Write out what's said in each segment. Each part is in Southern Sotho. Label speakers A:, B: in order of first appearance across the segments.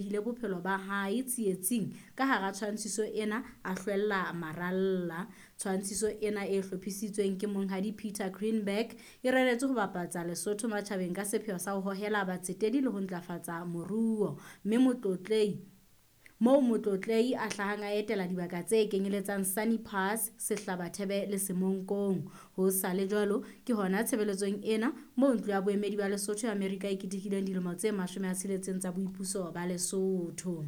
A: Behile bophelo ba hae tsietsing ka hara tshwantshiso ena a hlwella maralla. Tshwantshiso ena e hlophisitsweng ke Monghadi Peter Greenberg e reretswe ho bapatsa Lesotho matjhabeng ka sepheo sa ho hohela batsetedi le ho ntlafatsa moruo. Mme Motlotlehi moo Motlotlehi a hlahang a etela dibaka tse kenyeletsang Sani Pass, Sehlabathebe le Semonkong. Ho sa le jwalo, ke hona tshebeletsong ena moo Ntlo ya Boemedi ba Lesotho ya Amerika e ketekileng dilemo tse 60 tsa boipuso ba Lesotho.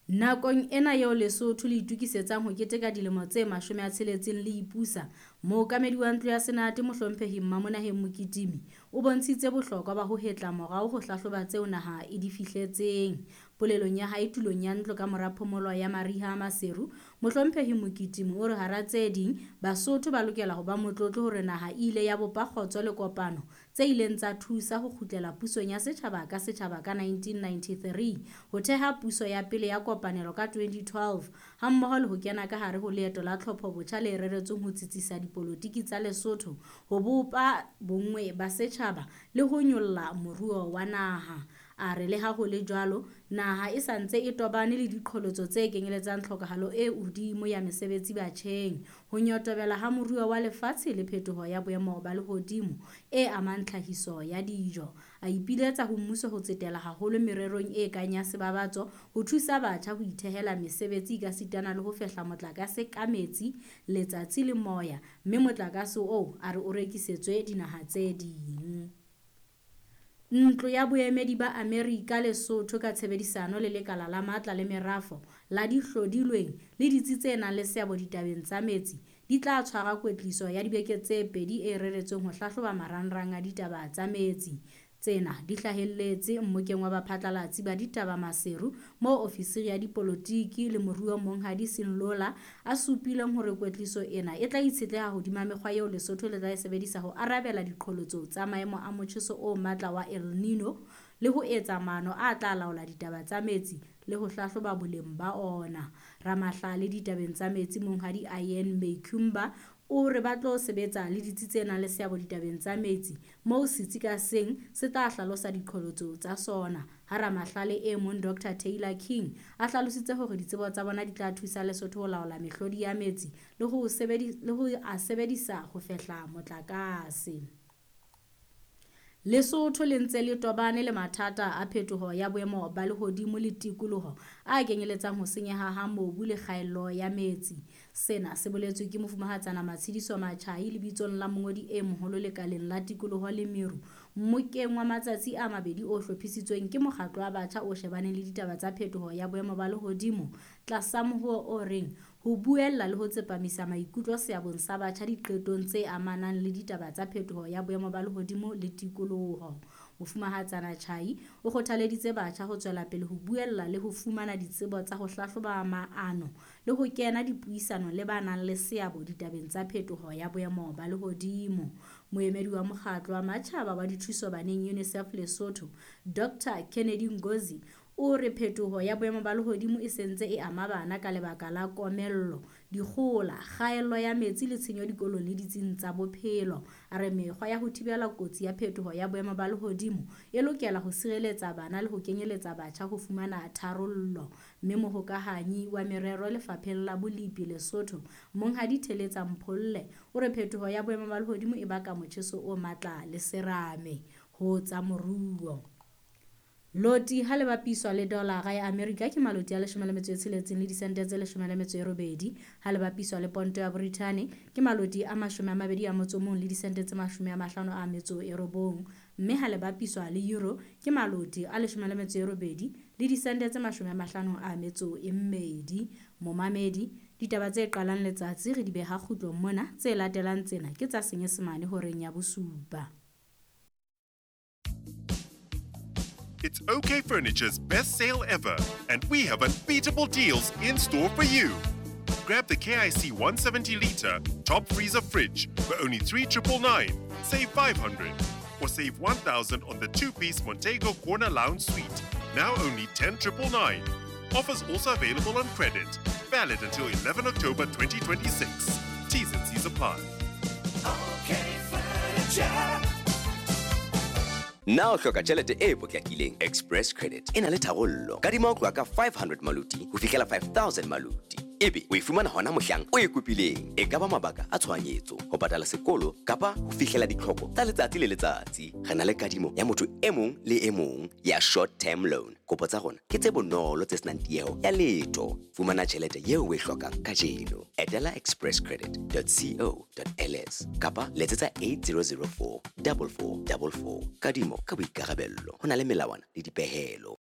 A: Nakong ena eo Lesotho le itokisetsang ho keteka dilemo tse 60 le ipusa, mookamedi wa Ntlo ya Senate Mohlomphehi Mmamonaheng Mokitimi o bontshitse bohlokwa ba ho hetla morao ho hlahloba tseo naha e di fihletseng. Polelong ya hae tulong ya ntlo ka mora phomolo ya mariha a Maseru, Mohlomphehi Mokitimi o re hara tse ding, Basotho ba lokela ho ba motlotlo hore naha e ile ya bopa kgotso le kopano tse ileng tsa thusa ho kgutlela pusong ya setjhaba ka setjhaba ka 1993, ho theha puso ya pele ya kopanelo ka 2012 hammoho le ho kena ka hare ho leeto la tlhopho-botjha le reretsweng ho tsitsisa dipolotiki tsa Lesotho, ho bopa bonngwe ba setjhaba le ho nyolla moruo wa naha. A re le ha ho le jwalo, naha e sa ntse e tobane le diqholotso tse kenyeletsang tlhokahalo e hodimo ya mesebetsi batjheng, ho nyotobela ha moruo wa lefatshe le phetoho ya boemo ba lehodimo e amang tlhahiso ya dijo. A ipiletsa ho mmuso ho tsetela haholo mererong e kang ya sebabatso ho thusa batjha ho ithehela mesebetsi ekasitana le ho fehla motlakase ka metsi, letsatsi le moya, mme motlakase oo a re o rekisetswe dinaha tse ding. Ntlo ya Boemedi ba Amerika Lesotho ka tshebedisano le Lekala la Matla le Merafo la Dihlodilweng le ditsi tse nang le seabo ditabeng tsa metsi di tla tshwara kwetliso ya dibeke tse pedi e reretsweng ho hlahloba marangrang a ditaba tsa metsi. Tsena di hlahelletse mmokeng wa baphatlalatsi ba ditaba Maseru moo ofisiri ya dipolotiki le moruo Monghadi Senlola a supileng hore kwetliso ena e tla itshetleha hodima mekgwa eo Lesotho le tla e sebedisa ho arabela diqholotso tsa maemo a motjheso o matla wa El Nino le ho etsa maano a tla laola ditaba tsa metsi le ho hlahloba boleng ba ona. Ramahlale ditabeng tsa metsi Monghadi Ian Meikhumba o re ba tlo sebetsa le ditsi tse nang le seabo ditabeng tsa metsi moo setsi ka seng se tla hlalosa diqholotso tsa sona. Ha ramahlale e mong Dr Taylor King a hlalositse hore ditsebo tsa bona di tla thusa Lesotho ho laola mehlodi ya metsi le ho a sebedisa ho fehla motlakase. Lesotho le ntse le tobane le mathata a phetoho ya boemo ba lehodimo le tikoloho a kenyeletsang ho senyeha ha mobu le kgaello ya metsi. Sena se boletswe ke Mofumahatsana Matshidiso Matjhai lebitsong la mongodi e moholo lekaleng la tikoloho le meru mmokeng wa matsatsi a mabedi o hlophisitsweng ke mokgatlo wa batjha o shebaneng le ditaba tsa phetoho ya boemo ba lehodimo tlasa mohoo o reng ho buella le ho tsepamisa maikutlo seabong sa batjha diqetong tse amanang le ditaba tsa phetoho ya boemo ba lehodimo le tikoloho. Mofumahatsana Chai o kgothaleditse batjha ho tswela pele ho buella le ho fumana ditsebo tsa ho hlahloba maano le ho kena dipuisano le ba nang le seabo ditabeng tsa phetoho ya boemo ba lehodimo. Moemedi wa mokgatlo wa matjhaba wa dithuso baneng UNICEF Lesotho, Dr Kennedy Ngozi, o re phetoho ya boemo ba lehodimo e sentse e ama bana ka lebaka la komello, dikgohola, kgaello ya metsi le tshenyo dikolong le ditsing tsa bophelo. A re mekgwa ya ho thibela kotsi ya phetoho ya boemo ba lehodimo e lokela ho sireletsa bana le ho kenyeletsa batjha ho fumana tharollo. Mme mohokahanyi wa merero lefapheng la Bolipi Lesotho, Monghadi Theletsa Mpholle, o re phetoho ya boemo ba lehodimo e baka motjheso o matla le serame ho tsa moruo. Loti ha le bapiswa le dolara ya Amerika ke maloti a 16 le disente tse 18, ha le bapiswa le ponto ya Brithani ke maloti a 21 le disente tse 59, mme ha le bapiswa le euro ke maloti a 18 le disente tse 52. Momamedi, ditaba tse qalang letsatsi re di beha kgutlong mona, tse latelang tsena ke tsa Senyesemane horeng ya bosupa.
B: It's OK Furniture's best sale ever, and we have unbeatable deals in store for you. Grab the KIC 170-litre top freezer fridge for only 3,999, save 500, or save 1,000 on the two-piece Montego Corner Lounge Suite, now only 10,999. Offers also available on credit. Valid until 11 October 2026. T's and C's apply.
C: OK Furniture. Na o hloka tjhelete e potlakileng? Express Credit e na le tharollo. Kadima ho tloha ka 500 maluti ho fihlela 5000 maluti. Ebe o e fumana hona mohlang o e kopileng. E ka ba mabaka a tshohanyetso, ho patala sekolo kapa ho fihlela ditlhoko tsa letsatsi le letsatsi. Re na le kadimo ya motho e mong le e mong ya short term loan. Kopo tsa rona ke tse bonolo tse senang tieho ya letho. Fumana tjhelete eo o e hlokang kajeno. Etela expresscredit.co.ls kapa letsetsa 8004 4444. Kadimo ka boikarabello. Ho na le melawana le dipehelo.